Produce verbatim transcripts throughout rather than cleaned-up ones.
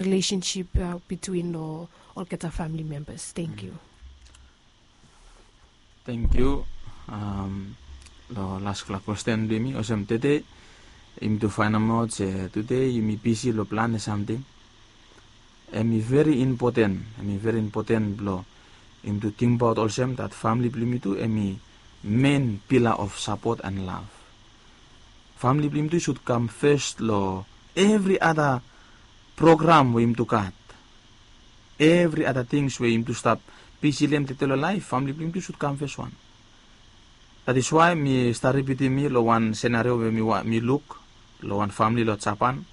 relationship uh, between lo olgeta family members. Thank you. Thank you. Um, lo laspela kwesten blong yumi olsem tede, yumi tu fainamaot se tede yumi bisi lo planem samting. Em i veri impoten, em i veri impoten blong yumi tu tingbaot olsem dat famili blong yumi tu em i men pila of sapot and lav. Famili blong yumi tu i sud kam fes lo evri ada program we yumi tu gat. Evri ada tings we yumi tu stap bisi long em tede lo laef, famili blong yumi tu i sud kam fes wan. That is why mi stap ripitim mi lo wan senario we mi, mi luk lo wan famili lo Japan.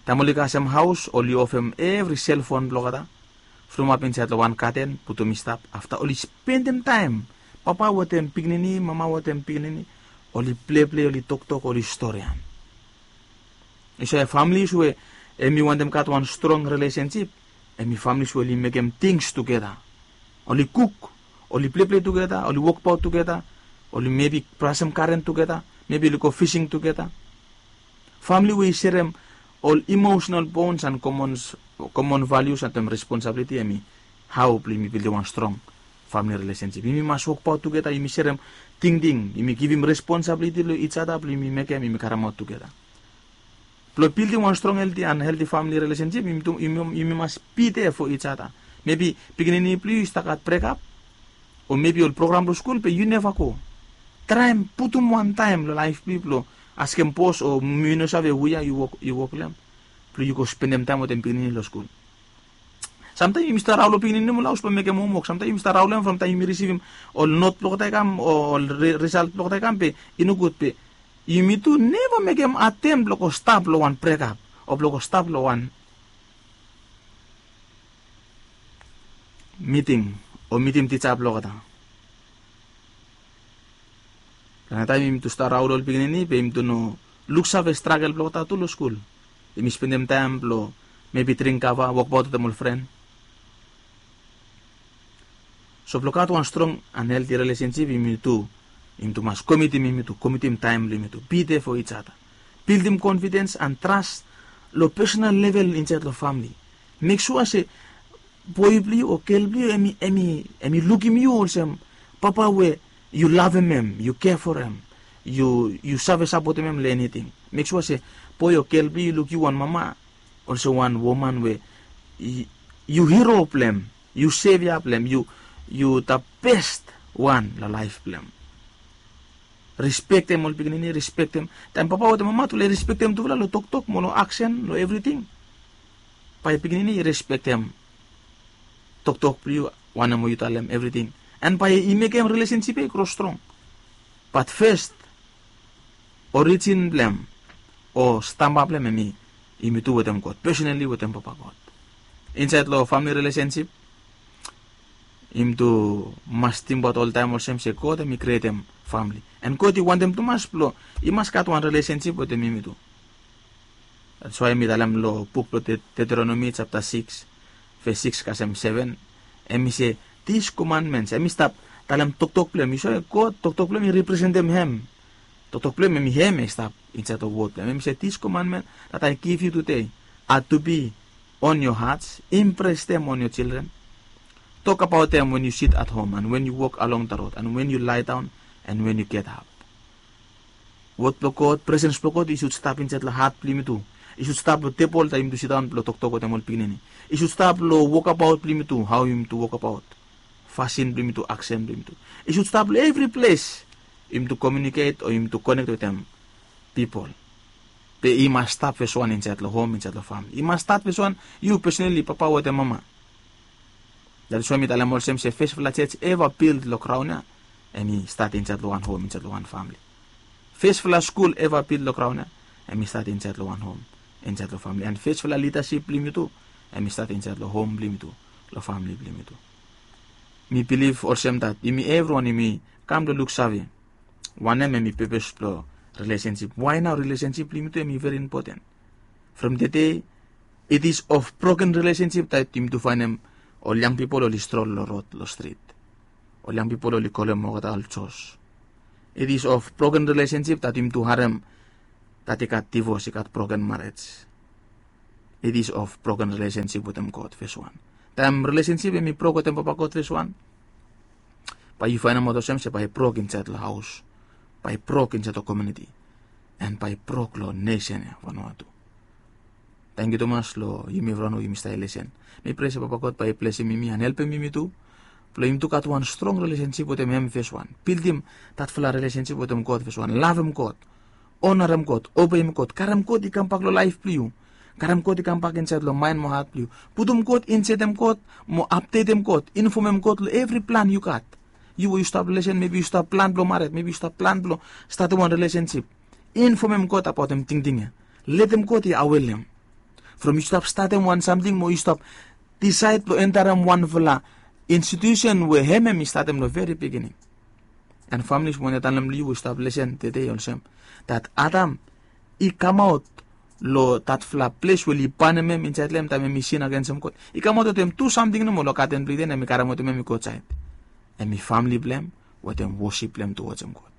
Taem oli kasem haos, oli ofem evri selfon blong olgeta, from ap insaed lo wan gaden, putum i stap. Afta oli spendem taem, papa wetem pikinini, mama wetem pikinini, oli pleplei, oli toktok, oli storian. Yu save, families we em i wantem gat wan strong relationship, em i families we oli mekem tings tugeta. Oli kuk, oli pleplei tugeta, oli wokbaot tugeta, oli mebi brasem garen tugeta, mebi oli go fising tugeta. Famili we i serem ol emotional bonds and common, common values and responsibility, em i hao blong yumi bildim wan strong famili relationship. Yumi mas wokbaot tugeta, yumi serem tingting, yumi givim responsibility long each other blong yumi mekem, yumi karemaot tugeta. Blong bildim wan strong, healthy and healthy family relationship, yumi, yumi, yumi mas be there for each other. Mebi pikinini blong yu i stap gat brekap, o mebi ol program long skul be yu neva go. Traem putum wan taem long laef blong yu blong askem bos o mi no save wea yu wok, yu wok long em, blong yu go spendem taem wetem pikinini long skul. Samtaem yumi stap raon long pikinini long haos blong mekem homwok. Samtaem yumi stap raon long hem from taem yumi risivim ol not blong olgeta i kam o ol risalt blong olgeta i kam, be i nogud, be yumi tu neva mekem atem blong go stap long wan brekap o blong go stap long wan miting o mitim tija blong olgeta. Long taem yumi tu stap raon long ol pikinini, be yumi tu no luksave stragel blong olgeta tu long skul. Yumi spendem taem blong mebi dring kava, wokbaot wetem ol fren. So blong gat wan strong and healthy relationship, yumi tu, yumi tu mas komitim, yumi tu komitim taem blong yumi tu be there for each other. Bildim confidence and trust long personal level insaed long famili. Mek sua se boe blong yu o gel blong yu em i, em i, em i lukim yu olsem papa we yu lavem em, yu kea forem, yu, yu save sapotem em long eniting. Mek sua se boe o gel blong yu i luk yu wan mama olsem wan woman we yu, yu hero blong em, yu sevia blong em, yu, yu the best wan long laef blong em. Respektem ol pikinini, respektem. Taem papa wetem mama tu lae respektem tufala long toktok mo long aksen, long evriting, bae pikinini i respektem toktok blong yu, wanem we yu talem, evriting. And bae i mekem relationship ia i gro strong. Bat fes, orijin blong em o stamba blong em, em i yumi tu wetem God, personally wetem Papa God. Insaed long family relationship, yumi tu mas tingbaot oltaem olsem se God em i krietem family. And God i wantem tumas blong i mas gat wan relationship wetem yumi tu. That's why mi talem long buk blong Deuteronomy chapter six, verse six kasem seven, em i se, these commandments, em i stap talem toktok blong em. Yu save, God, toktok blong em i representem hem. Toktok blong em, em i hem i stap insaed long wod blong em. Em i se, these commandments that I give you today are to be on your hearts, impress them on your children. Talk about them when you sit at home and when you walk along the road and when you lie down and when you get up. Wod blong God, presens blong God i sud stap insaed long hat blong yumi tu. I sud stap long tebol taem yumi tu sidaon blong toktok wetem ol pikinini. I sud stap long wokabaot blong yumi tu, hao yumi tu wokabaot. Fasin blong yumi tu, aksen blong yumi tu. I sud stap long evri ples yumi tu komiuniket o yumi tu konek wetem pipol. Be i mas stat fes wan insaed long hom, insaed long famili. I mas stat fes wan, yu personally, papa wetem mama. That is why mi talem olsem se fesfala jos eva bild long graon ia, em i stat insaed long wan hom, insaed long wan famili. Fesfala skul eva bild long graon ia, em i stat insaed long wan hom, insaed long famili. And fesfala lidasip blong yumi tu, em i stat insaed long hom blong yumi tu, long famili blong yumi tu. Mi bilif olsem dat yumi evriwan yumi kam long luksave wanem em i pepes blong relationship. Why nao relationship blong yumi tu em i veri impoten. From tede, it is of broken relationship that yumi tu faenem ol yang pipol oli strol long rod, long strit. Ol yang pipol oli kolem olgeta ol jos. It is of broken relationship that yumi tu harem that i gat divos, i gat broken marriage. it is of broken relationship wetem God, fes wan. Taem relationship em i brok wetem Papa God, fes wan, bae yu faenemaot olsem se bae i brok insaed long haos, bae i brok insaed long komuniti, and bae i brok long nesen ya, Vanuatu. Tangkiu tumas long yumi evriwan we yumi stap lesen. Mi prea se Papa God bae i blesim yumi and helpem yumi tu, blong yumi tu gat wan strong relationship wetem hem, fes wan. Bildim datfala relationship wetem God, fes wan. Lavem God, onarem God, obeim God, karem God i kambak long laef blong yu. Karem God i kambak insaed long maen mo hat blong yu. Putum God, insetem God, mo apdetem God, infomem God long evri plan yu gat. Yu we yu stap lesen, mebi yu stap plan blong mared, mebi yu stap plan blong statem wan relationship. Infomem God abaotem tingting ya. Letem God i awelim. From yu stap statem wan samting mo yu stap disaed blong entarem wanfala institusen we hem hem i statem long veri beginning. And families, mi wantem talem long yu we yu stap lesen tede olsem, dat Adam i kamaot long datfala ples we oli banem hem insaed long hem taem hem i sin agensem God. I kamaot wetem tu samting nomo long gaden blong Iden, hem i karemaotem hem i go aotsaed. Hem i famili blong hem wetem wosip blong hem towards hem God.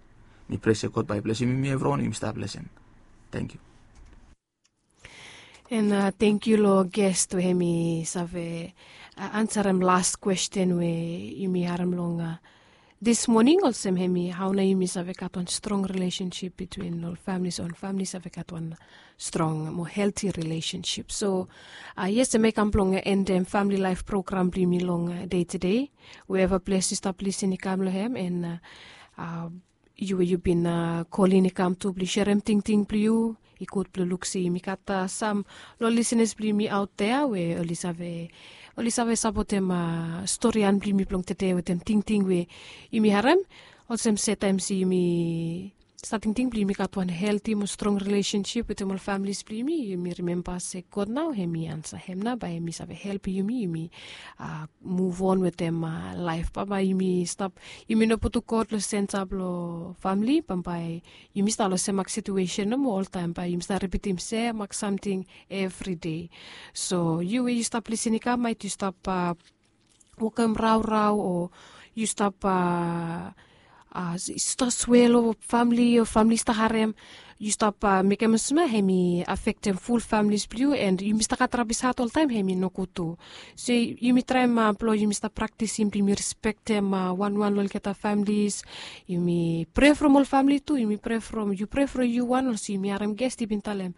Mi prea se God bae i blesim yumi evriwan we yumi stap lesen. Tangkiu. And tangkiu long guest we hem i save ansarem las kwesten we yumi harem long dis moning, olsem hem i hao nao yumi save gat wan strong relationship between ol families, o ol famili save gat wan strong mo helti relationship. So yes, hem i kam blong endem famili laef program blong yumi long dei tede. Wherever ples yu stap lisen i kam long hem, and yu we yu bin kolin i kam tu blong serem tingting blong yu. I gud blong luk se yumi gat sam long lisenas blong yumi aot dea we oli save, oli save sapotem storian blong yumi blong tede wetem tingting we yumi harem. Olsem se taem se yumi stap tingting blong yumi gat wan helti mo strong relationship wetem ol families blong yumi, yumi rimemba se God nao hem i ansa, hem nao bae hem i save helpem yumi, yumi muv on wetem laef. Bambae yumi stap, yumi no putum God long senta blong famili, bambae yumi stap long semak situesen nomo oltaem, bae yumi stap ripitim semak samting evri dei. So yu we yu stap lisen i kam, maet yu stap wokem raorao, o yu stap stap swe long famili, o famili stap harem, yu stap mekem olsem ya hem i afektem ful familis blong yu, and yumi stap gat rabis hat oltaem, hem i nogud tu. So yumi traem blong yumi stap praktisim blong yumi respektem wanwan long olgeta familis. Yumi prea from ol famili tu, yumi prea from, yu prea from yu wan, olsem yumi harem guest i bin talem,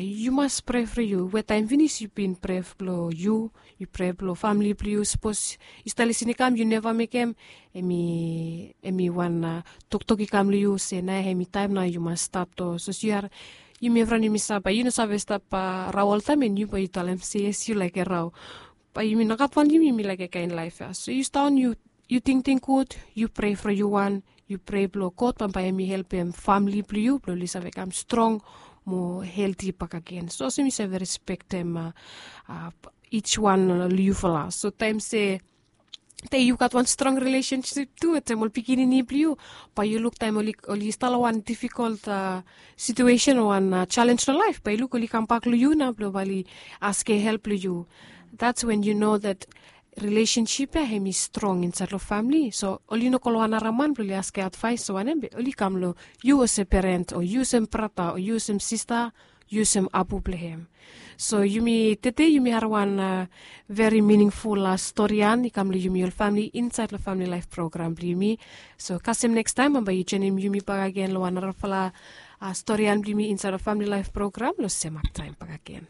yu mas prea from yu. We taem finis yu bin prea blong yu, yu prea blong famili blong yu. Sapos yu stap lisen i kam yu neva mekem, hem i, hem i wan toktok i kam long yu se nao hem i taem nao yu mas stat. O sapos yu, yumi evriwan yumi save, yu no save stap rao oltaem, and yu bae yu talem se yes, yu laik rao. Bae yumi no gat wan, yumi, yumi laik kaen laef ya. So yu stat, yu tingting gud, yu prea from yu wan, yu prea blong God bambae hem i helpem famili blong yu blong oli save kam strong mo helti bakegen. So olsem yu save respektem each wan long yufala. So taem se tede yu gat wan strong relationship tu wetem ol pikinini blong yu, bae yu luk taem oli, oli stap long wan difikol situesen o wan jalenj long laef, bae yu luk oli kambak long yu nao blong bae oli askem help long yu. That's when you know that relationship ya hem i strong insaed long famili. So oli no go long wan nara man blong oli askem advaes o wanem, be oli kam long yu olsem peren, o yu olsem brata, o yu olsem sista, yu olsem apu blong hem. So yumi tede yumi harem wan veri miningful storian i kam long yumi ol famili insaed long famili laef program blong yumi. So kasem nekstaem bambae yu joenem yumi bakegen long wan narafala storian blong yumi insaed long famili laef program long semak taem bakegen.